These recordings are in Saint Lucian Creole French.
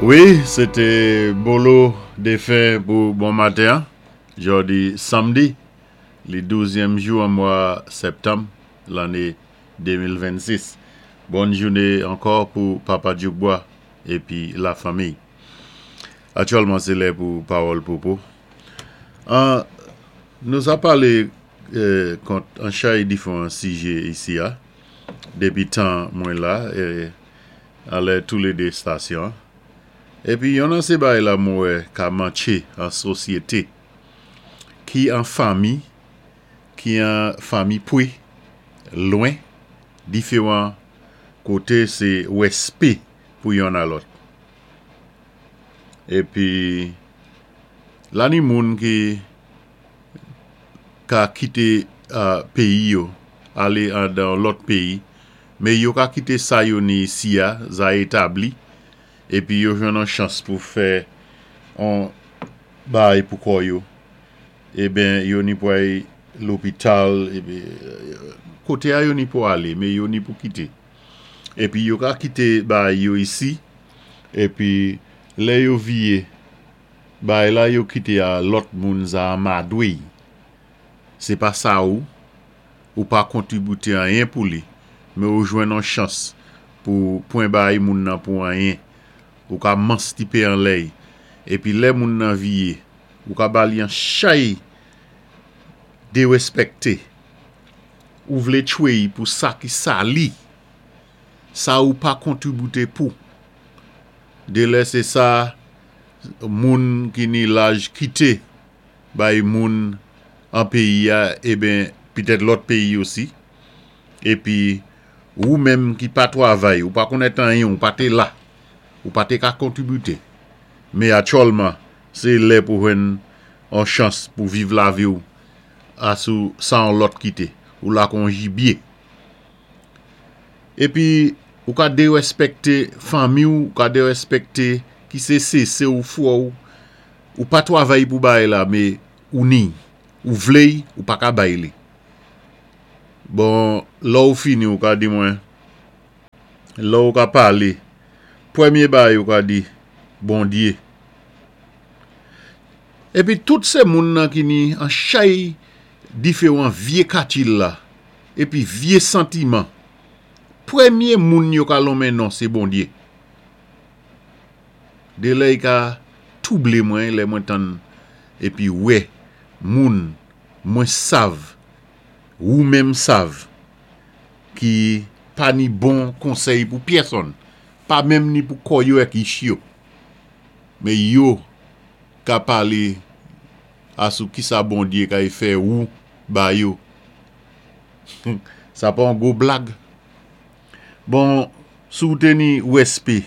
Wi, sé té Bolo Défen pou bon maten an. Jòdi samdi, li douzyèm jou an mwa sèptanm lanné 2026. Bòn jouné ankò pou Papa Dyoukbwa épi lafanmiy. Aktyèlman sé lè pou Pawòl Pwopo. An nou sa palé kont an chay difwan sijé isi a dépi tan mwen la anlè toulede stasyon. Épi yonn an sé bagay la mwen wè ka mantché an sosyété ki an fanmi ki an fanmi pwé lwen diféwan koté sé wèspé pou yonn a lòt. Épi la ni moun ki ka kité péyi yo alé andan lòt péyi men yo ka kité sa yo ni isi a za établi épi yo jwenn on chans pou fè on bagay pou kò yo eben yo ni pou ay lopital epi koté a yo ni pou alé men yo ni pou kité épi yo ka kité bagay yo isi épi lè yo viyé Bagay la yo kite a lòt moun za anmadwe y se pa sa ou ou pa kontribite anyen pou li men ou jwenn on chans pou pwen bay moun nan pou anyen ou ka manstipe anlè y epi lè moun nan viye ou ka ba li an chay derespèkte ou vle tchwe y pou sa ki sali sa ou pa kontribite pou delè se sa moun ki ni laj kite bay moun an peyi a eben pitèt lòt peyi osi epi wou menm ki pa twavay ou pa konnèt anyen ou pa te la ou pa te ka kontribite me atyòlman se lè pou jwenn on chans pou viv lavi w a sou sa on lòt kite ou la kon jibye. Epi ou ka derèspèkte fanmi w, ou ka derèspèkte ki se se se ou frè w, ou pa twavay pou bagay la me ou ni, ou vle y, ou pa ka bay li. Bon, lè ou fini ou ka di mwen, lè ou ka pale, premye bagay ou ka di, Bondye. Epi tout se moun nan ki ni an chay diferan vye katil la. Epi vye santiman. Premye moun yo ka lonmen non se Bondye. Delè y ka twouble mwen lè mwen tann epi wè moun mwen sav wou menm sav ki pa ni bon konsèy pou pyèsonn pa menm ni pou kò yo ak ich yo men yo ka pale asou kisa Bondye kay fè wou ba yo. Sa pa yon gwo blag? Bon, si w te ni wespe,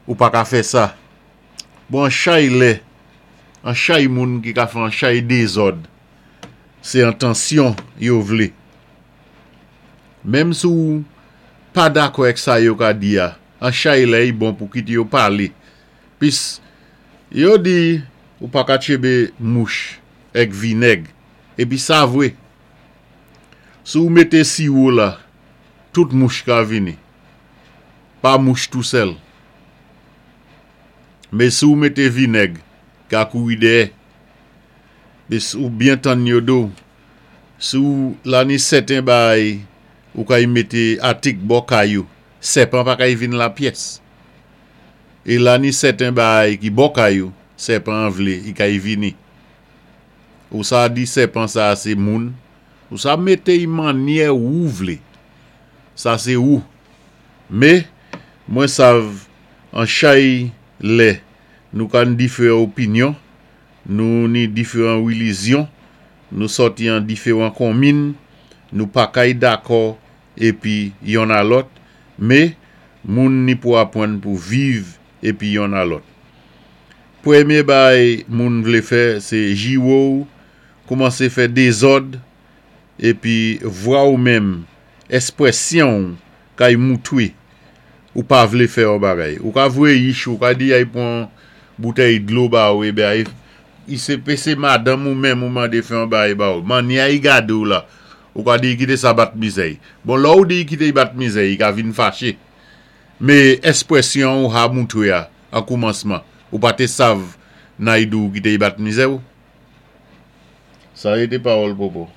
ou pa ka fè sa. Bon, an chay lè, an chay moun ki ka fè an chay dezòd, se entansyon yo vle. Menm si w pa dakò ak sa yo ka di a, an chay lè y bon pou kite yo pale. Pis, yo di ou pa ka tchebe mouch ak vinèg. Epi sa vre. Si w mete siwo la, tout mouch ka vini. Pa mouch tou sèl. Men si w mete vinèg, ka kouri dèyè. Pis ou byen tann yo do. Si w la ni sèten bagay ou kay mete atik bò kay ou, sèpan pa kay vin la pyès. E la ni sèten bagay ki bò kay ou, sèpan an vle, i kay vini. Ou sa di sèpan sa se moun. Ou sa mete y mannyè wou vle. Sa se wou. Me, mwen sav an chay lè nou ka n diferan opinyon, nou ni diferan rilizyon, nou sòti an diferan konmin, nou pa kay dakò epi yonn a lòt, me, moun ni pou apwann pou viv epi yonn a lòt. Premye bagay moun vle fè se jiwo w, koumanse fè dezòd, epi vwa w menm, espresyon w kay moutwe ou pa vle fè yon bagay. Ou ka voye yich ou ka di ay pran boutèy dlo ba ou eben ay i se pe se madanm ou menm ou mande fè yon bagay ba ou. Mannyè i gade w la, ou ka di i kite sa bat mizè i. Bon lè ou di i kite i bat mizè i, i ka vin fache. Me espresyon ou ha moutre a. An koumansman, ou pa té sav Naidoo ki té y bat mizè ou? Sa yé té pawòl Popo.